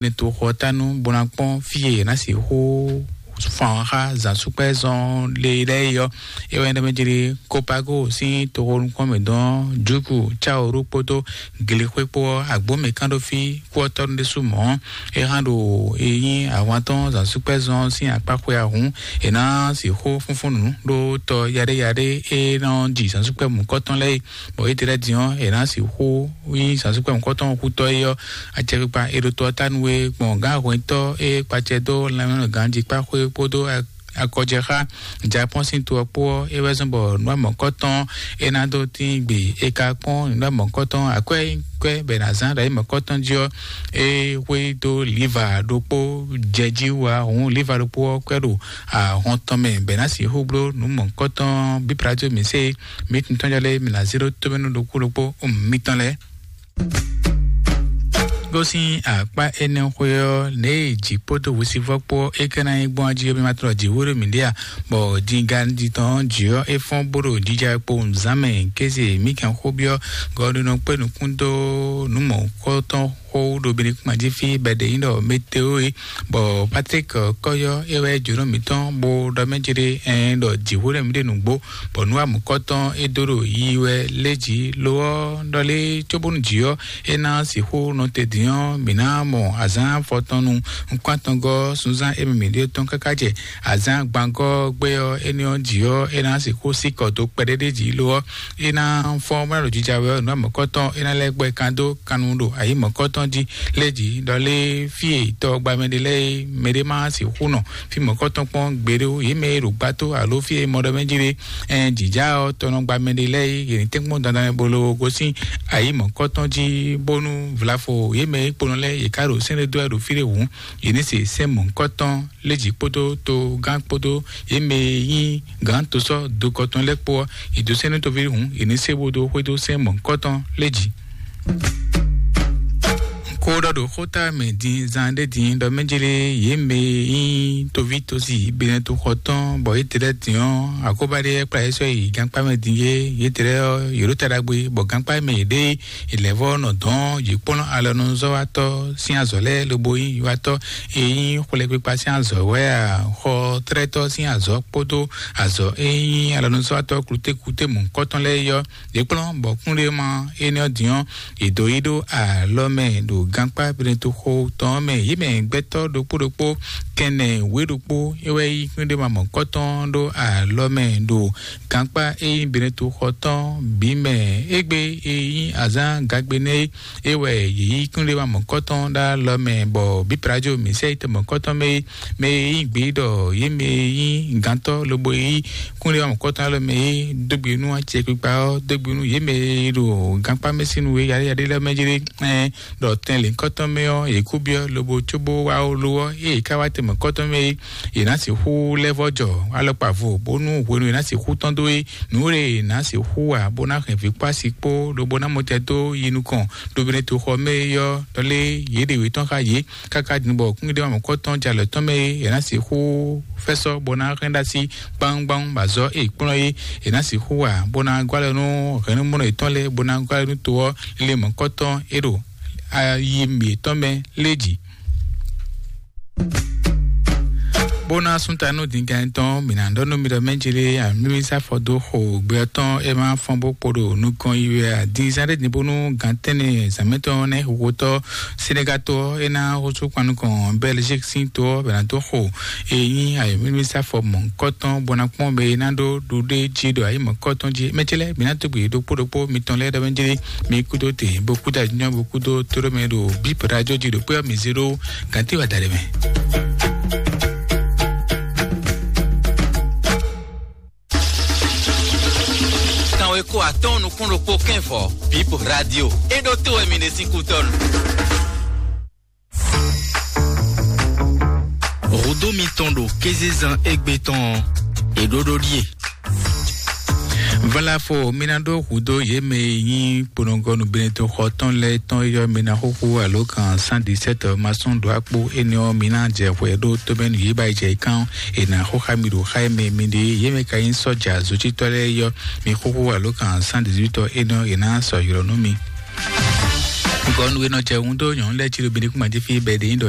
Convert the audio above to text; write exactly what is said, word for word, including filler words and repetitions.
ní toxɔ tánu bó ná kpɔ́n fí e è nǎ sixú fan xá zǎnsúkpɛ́zɔn le lɛ́ɛ é ɔ́. É wɛ nyí ɖɔ mɛ jlé Kopago sín toxo nukúnmɛ dɔn Juku Caoru kpódó Glixwé kpó ɔ́, agbǒmɛ kán ɖó fí kú ɔ́ tɔ́ nú ɖésú mɔ̌. É hán ɖo e nyí ahwan tɔn zǎnsúkpɛ́zɔn sín akpá xwe ahun, è nǎ sixú fúnfún nǔ ɖó tɔ yaɖéyaɖé e nɔ ji zǎnsúkpɛ́ mǔkɔtɔn lɛ́ɛ é. Bɔ étɛ́ lɛ́ɛ din ɔ́, è nǎ sixú nyí zǎnsúkpɛ́ mɔ̌kɔtɔn xutɔ́ é ɔ́, acɛkpikpa e ɖo tɔ ɔ́ ta nú we gbɔn gǎn hwɛntɔ́ e kpacɛ dó lanmɛnɔ ganjí kpá xwé kpódó akɔjɛxá Japɔ́n sín to ɔ́ kpó ɔ́, é wɛ zɔ́n bɔ nǔ mɔ̌kɔtɔn é ná dó tín gbe é ka kpɔ́n nǔ mɔ̌kɔtɔn akwɛ́ kwɛ́ bɛ ná zán ɖo ayǐ mɔ̌kɔtɔn jí ɔ́, é hwé dó liva ɖokpó jɛ jí wá hǔn liva ɖokpó ɔ́ kwɛ́ ɖo ahɔn tɔn mɛ bɛ ná sixú bló nǔ mɔ̌kɔtɔn bí plateau mi se mi tun tɔn jɔ lé mi ná zé ɖó tómɛnú ɖokpó ɖokpó mitɔn lɛ́ɛ. Gosín akpá énɛ́ xwé ɔ́, nɛ̌ e jǐ kpódó hwesivɔ́ kpó é ka ná nyí gbɔn jí ɔ́, mi ma tlɔ jǐ hwéɖó mǐ ɖe a? Bɔ díngán jí tɔn jí ɔ́, é fɔ́n bó ɖo jija kpo nǔzán mɛ kéze mǐ kɛn xó byɔ́ gɔɖunɔ kpé nukún dó nǔ mɔ̌kɔtɔn xó ɖo Benikuma jí fí bɛɖe nyí ɖɔ météo é. Bɔ Patrick Kɔyɔ é wɛ jǒnɔ mǐtɔn bó ɖɔ mɛ jere ɛn ɖɔ jǐxwé ɖɔ mǐ ɖe nǔgbó, bɔ nú amukɔtɔn é dó ɖo yi wɛ lé jǐ lo ɔ́ ɖɔ lé cóbónú jǐ ɔ́ é ná sixú nɔ te dǐn ɔ́, mǐ ná mɔ azǎn afɔtɔn nu nukún atɔngɔ́ sunzán émí mǐ ɖe tɔn káká jɛ azǎn gbangɔ́ gbé ɔ́, énɛ́ ɔ́ jǐ ɔ́ é ná sixú sí kɔ dó kpɛɖéɖé jǐ lo ɔ́, é ná fɔ́n bó ná ɖo jija wɛ ɔ́, nǔ mɔ̌kɔtɔn é ná lɛ́ gbɛ kan dó kannu ɖo ayǐ mɔ̌kɔtɔn jí lé jǐ ɖɔ lé fí e tɔ gba mɛ ɖé lɛ́ɛ é mɛɖé má sixú nɔ fí mɔ̌kɔtɔn kpɔ́n gbeɖé ó. Yě mɛ e ɖo gbá tó alo fí e mɔ ɖɔ mɛ jí ɖé ɛn jǐjá ɔ́ tɔnɔ gba mɛ ɖé lɛ́ɛ é, yě ní tɛ́nkpɔ́n dandan wɛ bó ló gosín ayǐ mɔ̌kɔtɔn jí bónú vlafo yě mɛ e kponɔ lɛ́ɛ yě ká ɖo sɛ́n ɖé dó wɛ ɖo fí ɖé hǔn, yě ní se sɛ́n mɔ̌kɔtɔn lé jǐ kpódó togán kpódó yě mɛ e nyí gǎn tosɔ́ dokɔtɔn lɛ́ɛ kpó ɔ́, è dǒ sɛ́n nú toví hǔn, è nǐ se bó dó xwedó sɛ́n mɔ̌hunkɔtɔn lɛ́ɛ jí. Ko ɖɔ ɖo xóta mɛ din zan ɖé din ɖɔ mɛ jele yě mɛ e nyí toví tosi benɛtoxɔ tɔn bɔ yě tlɛ din ɔ́, akóbá ɖé kplá yě sɔ́ yi gankpá mɛ din yé, yě tlɛ ɔ́, yě ɖo ta ɖagbe bɔ gankpá mɛ yě ɖe yě lɛ́ vɔ nɔ dɔn yě kplɔ́n alɔnuzɔ́watɔ́ sín azɔ̌ lɛ́ɛ lobo nyí yiwatɔ́ e nyí xwlɛkpikpa sín azɔ̌ wɛ a, xɔ tlɛ́tɔ́ sín azɔ̌ kpódó azɔ̌ e nyí alɔnuzɔ́watɔ́ klutékuté mɔ̌hunkɔtɔn lɛ́ɛ é ɔ́, yě kplɔ́n bɔ kúnɖéma énɛ́ ɔ́ din ɔ́, è dǒ yí ɖó alɔ mɛ ɖo gankpá Pilato xo tɔn ɔ́ mɛ. Yě mɛ gbɛtɔ́ ɖokpó ɖokpó kɛnɛ wěɖokpó é wɛ yí kúnɖéma mɔ̌kɔtɔn ɖó alɔ mɛ ɖo gankpá e nyí Pilato xɔ tɔn bǐ mɛ. Égbé e nyí azǎn gagbe nɛ́ é, é wɛ yě yí kúnɖéma mɔ̌kɔtɔn ɖó alɔ mɛ bɔ bǐ Pilato mǐ sɛ yi te mɔ̌kɔtɔn mɛ é. Mɛ e nyí gbě ɖɔ yě mɛ e nyí gǎntɔ́ lobo yí kúnɖéwamɔkɔtɔn alɔ mɛ e dó gbe nú acɛkpikpa ɔ́ dó gbe nú yě mɛ e ɖo gankpá mɛ sín nú we yaɖéyaɖé lɛ́ɛ mɛ jlé ɛn ɖɔ tɛn lěhunkɔtɔn mɛ ɔ́, yě kú byɔ́ lobo cóbó wá ó lo ɔ́, ée yě ká wá tɛnmɛ kɔ́tɔn mɛ é, yě ná sixú lɛ́ vɔ́ jɔ alɔkpa vo bónú hwenu e ná sixú tɔ́n dó é, nǔ e è nǎ sixú wa bó ná hɛn vǐ kpó asi kpó lobo ná mɔ tɛ dó yi nukɔn ɖo Beneto xɔ mɛ é ɔ́, ɖɔ lé yě ɖe wě tɔn xá yě. Káká din bɔ kúngbédéwámɔ̌kɔ́ tɔn jalɛ tɔn mɛ é, è nǎ sixú fɛ́sɔ́ bó ná hɛn ɖó así gbáwúgbáwú bɔ azɔ̌ e è kplɔ́n é, è nǎ sixú wa bó ná gɔ́ alɔ nú hɛ̌nnumúnɔ yětɔn lɛ́ɛ bó ná gɔ́ alɔ nú to ɔ́ lé mɔ̌kɔ́ tɔn é ɖo ayi mǐtɔn mɛ lé jǐ. Bó ná sú ta nú dǐngán tɔn, mǐ ná ɖɔ nú mi ɖɔ mɛjele amímísá fɔ dó xo gbɛ ɔ́ tɔn é má fɔ́n bó kpo ɖo nukɔn yi wɛ a? Din zán ɖé din bónú gǎn tɛ́nnɛ zǎnmɛtɔ́ nɛ́ xixotɔ́ Senegatɔ ɔ́ é ná xosú kpan nukɔn Belgique sín to ɔ́ bɛ ná dó xo e nyí ayɔmímísá fɔ mɔ̌hunkɔtɔn bó ná kpɔ́n mɛ e ná ɖó ɖuɖé jí ɖo ayǐ mɔ̌hunkɔtɔn jí. Mɛ ce lɛ́ɛ, mǐ ná dó gbe ɖokpó ɖokpó mitɔn lɛ́ɛ ɖɔ mɛjele mi kúdó te bó kúdó ajínjɔ́n bó kúdó tóɖó mɛ ɖo bíp radio jí ɖo kpé ɔ́ mi zé ɖó gǎntíwa da ɖé mɛ. Kanweko atɔ́ɔ́n nukún ɖokpó kɛ́n vɔ bíp radio é ɖó tó wɛ mi ɖe sín kútɔ́nu. Hǔdó mitɔn ɖo kézezán égbé tɔn ɔ́, è ɖó ɖó ɖíe. Valafo mi ná ɖó hǔdó yě mɛ e nyí kponɔgɔnu Beneto xɔ tɔn lɛ́ɛ tɔn yɔ mi ná xúxú alo kan cent dix-sept masɔn ɖó akpó énɛ́ ɔ́, mi ná jɛ hwɛ ɖó tómɛnu yě ba yi jɛ kán è nǎ xó xá mi ɖo xá e mɛ mi ɖe yě mɛ ka nyí sɔ́ja zotítɔ́ lɛ́ɛ yɔ mi xúxú alo kan cent dix-huit ɔ́ énɛ́ ɔ́, è nǎ sɔ ylɔ̌ nú mi. Gɔnu e nɔ jɛ wun dó nyɔ̌nu lɛ́ɛ jí ɖo Benin kúma jí fí bɛ́ ɖě nyí ɖɔ